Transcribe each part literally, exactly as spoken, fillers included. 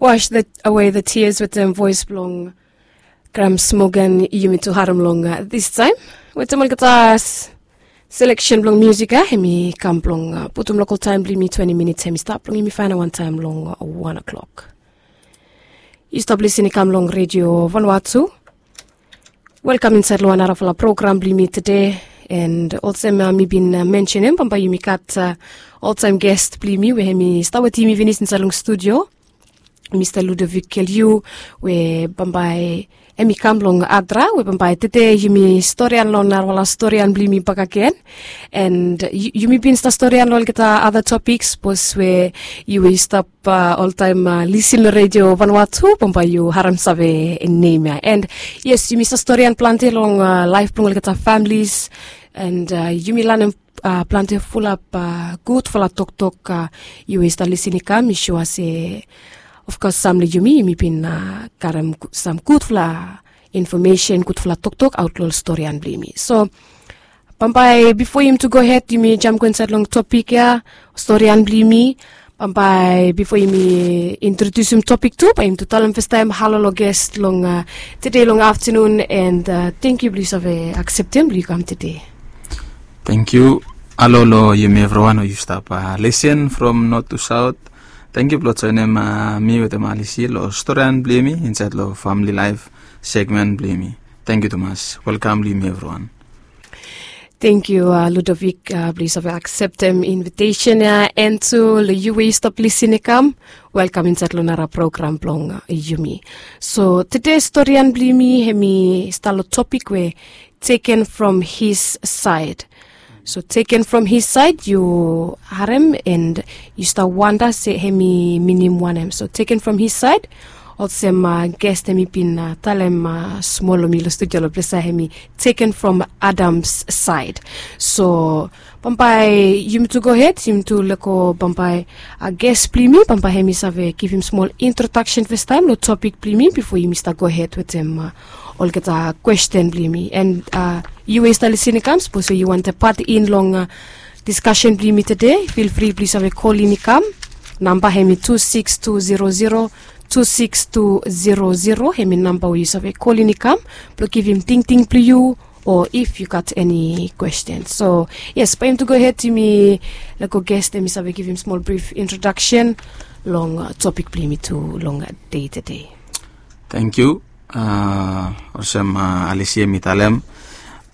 Wash the, away the tears wetem voes blong Grams Morgan. Yumi tu harem long distaem wetem olgeta seleksen blong musik ya, hemi kam blong putum lokal taem blong yumi twenti minits, hemi stap blong yumi faenap wantaem long wan o'clock. Yu stap lisin i kam long Redio Vanua tu. Welkam insaed long wan narafala program blong yumi tede. And olsem mi bin mensenem, bambae yumi gat oltaem gest blong yumi we hemi stap wetem yumi finis insaed long studio, Mista Ludovic Keliu, we bambae hemi kam long Adra, we bambae tede yumi storian long narafala storian blong yumi bakegen. And yumi bin stap storian long olgeta ada topiks, sapos we yu we yu stap oltaem lisin long Redio Vanua tu, bambae yu harem save nem ya. And yes, yumi stap storian plante long laef blong olgeta familis, and yumi lanem plante fulap gudfala toktok. Yu we yu stap lisin i kam, mi sua se ofkos sam long yumi, yumi bin karem sam gudfala infomesen, gudfala toktok aot long ol storian blong yumi. So bambae bifo yumi tu gohed, yumi jam go insaed long topik ya, storian blong yumi. Bambae bifo yumi introdiusim topik tu, bae yumi tu talem fastaem halo long gest long tede long aftenun, and tangkiu blong yu save akseptem blong yu kam tede. Tangkiu. Halo long yumi evriwan we yu stap lisin from not tu saot. Tangkiu blong joenem mi wetem Alisi long storian blong yumi insaed long famili laef segmen blong yumi. Tangkiu tumas. Welkam long yumi evriwan. Tangkiu Ludovic blong yu save akseptem invitesen ya, and tu long yu we yu stap lisin i kam, welkam insaed long nara program blong yumi. So tede storian blong yumi hemi stap long topik we taken from his side. So taken from his side, yu harem and yu stap wanda se hemi minim wanem. So taken from his side, olsem gest hemi bin talem smol long mi long studio long ples ya, hemi taken from Adam's side. So bambae yumi tu gohed, yumi tu lego bambae gest blong yumi, bambae hemi save givim smol introdaksen fastaem long topik blong yumi bifo yumi stap gohed wetem olgeta kwesten blong yumi. And yu we yu stap lisin i kam, sapos we yu wantem pat in long diskasen blong yumi tede, feel free blong yu save kolin i kam. Namba hemi tu sikis tu zero zero, tu sikis tu zero zero, hemi namba we yu save kolin i kam blong givim tingting blong yu, o if yu gat eni kwesten. So yes, bae yumi tu gohed, yumi lego gest hemi save givim smol brif introdaksen long topik blong yumi tu long dei tede. Tangkiu. Olsem Alisi hemi talem,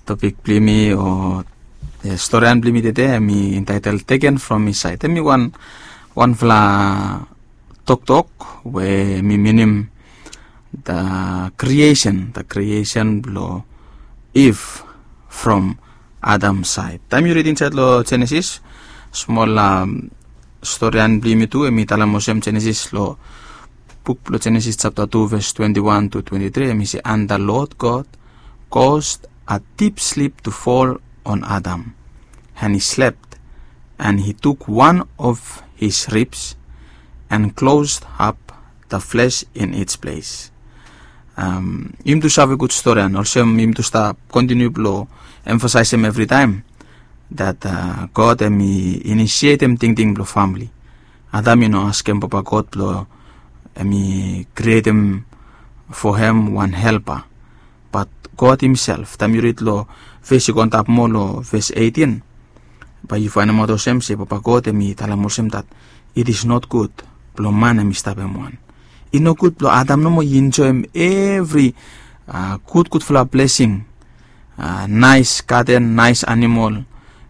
topik blong yumi o storian blong yumi tede hemi intaetel Taken from His Side. Hemi wan, wanfala toktok we hemi minim the creation, the creation blong Eve from Adam side. Taem yu rid insaed long Jenesis, smol storian blong yumi tu, hemi talem olsem, Jenesis, long buk blong Jenesis japta tu ves twenti wan tu twenti tri, hemi se, "And the Lord God caused a deep sleep to fall on Adam, and he slept, and he took one of his ribs and closed up the flesh in its place." Yumi tu save gud storian, olsem yumi tu stap kontiniu blong emfasaesem evritaem that God hemi inisietem tingting blong famili. Adam i no askem Papa God blong hemi krietem fo hem wan helpa. Bat God himself, taem yu rid long ves i go antap moa long ves eitin, bae yu faenemaot olsem se Papa God hemi talem olsem that it is not good blong man hemi stap hem wan. I nogud blong Adam nomo i enjoem evri gudgudfala blesing, naes gaden, naes animol,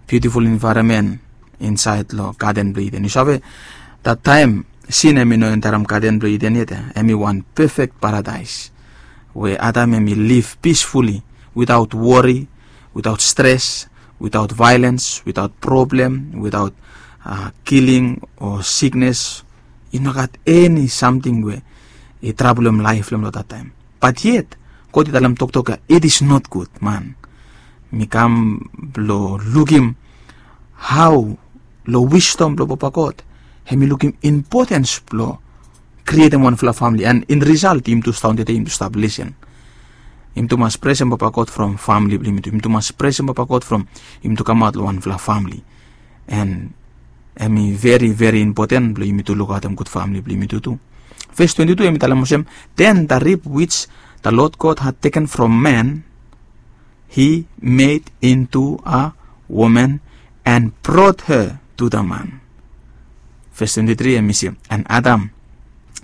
biutiful envaeronmen insaed long Gaden blong Iden. Yu save, that taem sin hemi no enterem Gaden blong Iden yet, hemi wan pefek paradaes we Adam hemi liv pisfuli, witaot wori, witaot stres, witaot vaelens, witaot problem, witaot kiling o siknes. I no gat eni samting we i trabolem laef blong hem long that taem. Bat yet God i talem toktok ya, it is not good, man. Mi kam blong lukim hao long wisdom blong Papa God hemi lukim impotens blong krietem wanfala famili, and in result yumi tu stap daon tede, yumi tu stap lisin. Yumi tu mas presem Papa God from famili blong yumi tu. Yumi tu mas presem Papa God from yumi tu kamaot long wanfala famili. And hemi veri, veri impoten blong yumi tu lukaotem gud famili blong yumi tu tu. Ves twenti tu hemi talem olsem, then the rib which the Lord God had taken from man, he made into a woman and brought her to the man. Ves twenti tri hemi se, and Adam,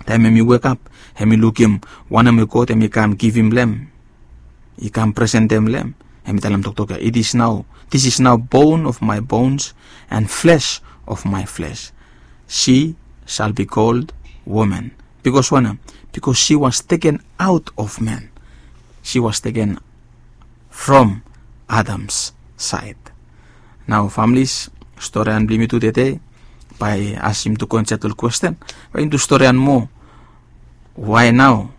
taem hemi wekap, hemi lukim wanem we God hemi kam givim long hem, i kam presentem long hem, hemi talem toktok ia, it is now, this is now bone of my bones and flesh of my flesh. She shall be called woman. Because wanem? Because she was taken out of man. She was taken from Adam's side. Nao familis, storian blong yumi tu tede, bae as yumi tu go insaed long kwesten, bae yumi tu storian moa. Why now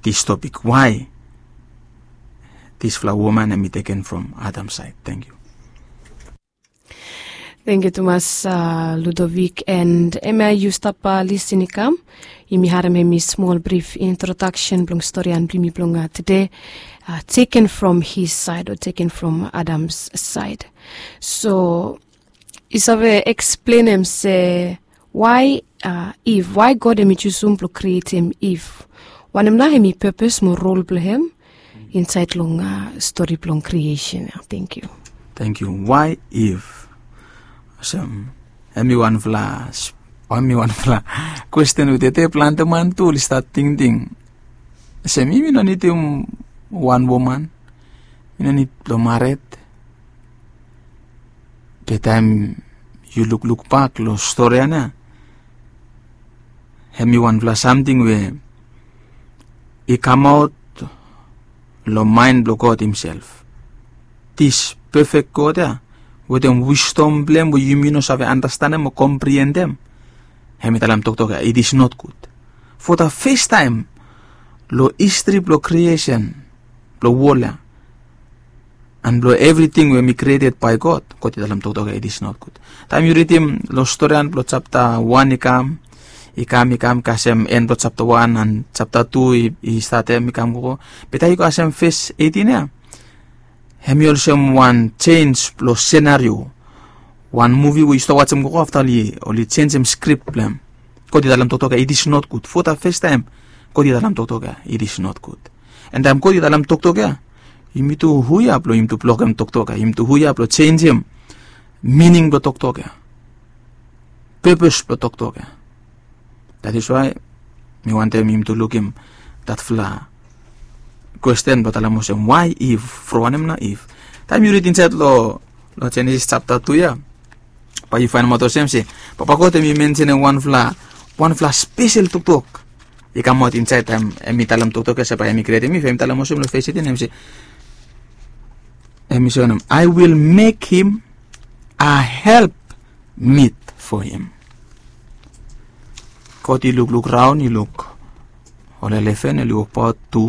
this topic? Why disfala woman hemi taken from Adam's side? Thank you. Thank you tumas, uh, Ludovic, and hemia yu stap, uh, lisin i kam. Yumi harem hemi smol brif introduction blong storian blong yumi blong, uh, tede, uh, taken from his side or taken from Adam's side. So yu save eksplenem se why, uh, Eve, why God hemi jusum blong krietem Eve? Wanem nao hemi purpose mo rol blong hem insaed long, uh, stori blong creation ia? Thank you. Thank you. Why Eve? Olsem, hemi wanfala, hemi wanfala kwesten we tede plante man tu oli stat tingting. Olsem, yumi no nidim wan woman, yumi no nid blong mared. Be taem yu lukluk bak long storian ia, hemi wanfala samting we i kamaot long maen blong God himself. This perfect God ia, wetem wisdom blong hem we yumi no save andastanem o kompriendem, hemi talem toktok ia, it is not good. For the first time long history blong creation blong wol ia, and blong evriting we hemi created by God, God i talem toktok ia, it is not good. Taem yu ridim long storian blong japta wan i kam, i kam, i kam kasem en blong japta wan and japta tu i, i statem i kam gogo. Be taem yu kasem ves eitin ia, hemi olsem wan jenis blong senario. Wan muvi we yu stap wajem gogo, afta oli, oli jenisim skrip blong hem. God i talem toktok ia, it is not good. For the first time God i talem toktok ia, it is not good. And taem God i talem toktok ia, yumi tu hu ya blong yumi tu blokem toktok ia? Yumi tu hu ya blong jenisim mining blong toktok ia, purpose blong toktok ia? That is why mi wantem yumi tu lukim datfala kwesten blong talem olsem, why Eve? From wanem nao Eve? Taem yu rid insaed long, long Jenesis japta tu ia, bae yu faenemaot olsem se Papa God hemi mensenem wanfala, wanfala spesel toktok i kamaot insaed taem hemi talem toktok ia se bae hemi krietem Eve. Hemi talem olsem long ves eitin, hemi se, hemi se wanem? I will make him a help meet for him. God i lukluk raon, i luk ol elefen oli wokbaot tu,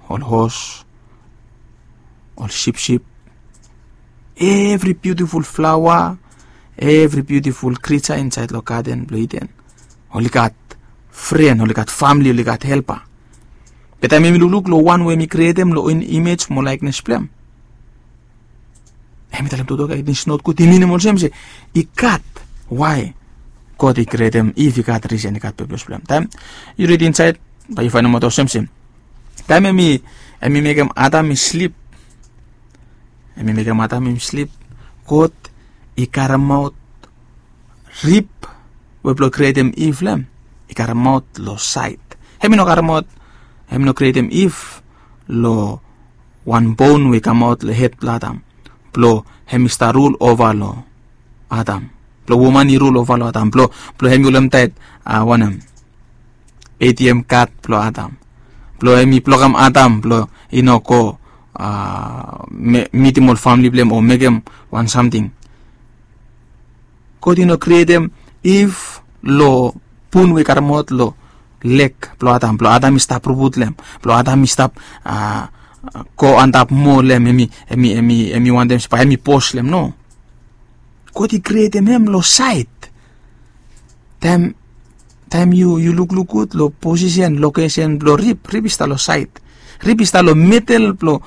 ol hos, ol sipsip, evri biutiful flaoa, evri biutiful krija insaed long gaden blong Iden, oli gat fren, oli gat famle, oli gat helpa. Be taem yumi lukluk long wan we hemi krietem long imej mo laeknes blong hem, hemi talem toktok ia, it is not good. I minim olsem se i gat why God i krietem Iv, i gat risen, i gat purpose blong hem. Taem yu rid insaed, bae yu faenemaot olsem se taem hemi, hemi mekem Adam i slip, hemi mekem Adam hemi slip, God i karemaot rib we blong krietem Iv long hem, i karemaot long saed. Hemi no karemaot, hemi no krietem Iv long wan bon we i kamaot long hed blong Adam, blong hemi stap rul ova long Adam, blong woman i rul ova long Adam, blong, blong hemi holemtaet, a, wanem, A T M kad blong Adam, blong hemi blokem Adam blong i no go, a, me-, mitim ol famle blong hem o mekem wan samting. God i no krietem Iv long bun we i karemaot long leg blong Adam, blong Adam i stap rubut long hem, blong Adam i stap, a, go antap moa long hem, hemi, hemi, hemi, hemi wantem se bae hemi bos long hem. No. God i krietem hem long saed. Taem, taem yu, yu lukluk gud long posisen, lokesen blong rib, rib i stap long saed. Rib i stap long medel blong